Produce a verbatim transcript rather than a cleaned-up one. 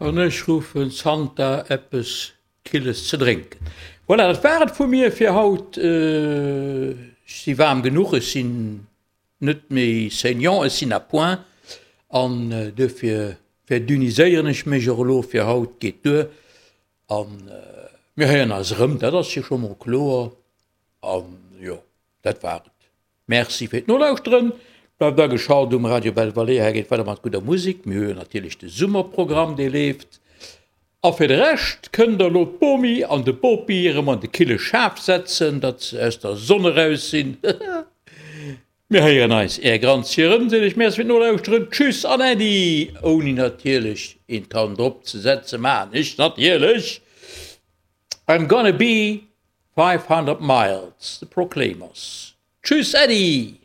An ech ruffen Santa eppes Killes ze drénken. Voilà, dat war et vu mir fir haut. Ech si waarm genuch, ech sinn net méi saignant, ech sinn à point an duerfir verdünniséieren ech mech och elo fir haut. Geet duer an mir héieren eis erëm, dat ass jo scho mol kloer. An jo, dat war et. Merci fir d'Nolauschteren. Bleift ageschalt um Radio Belle Vallée. Hei geet weider mat gudder Musek. Mir hu jo natierlech de Summerprogramm, dee leeft. A fir de Rescht kënnt der elo d'Bomi an de Bopi erëm an de kille Schaf setzen, datt se aus der Sonn eraus sinn. Mir héieren eis, Är Granzi erëm, seet iech Merci fir d'Nolauschteren. Tschüss an Äddi! Ouni natierlech een Toun drop ze setzen, maachen ech natierlech I'm gonna be five hundred miles, The Proclaimers. Tschüss, Äddi!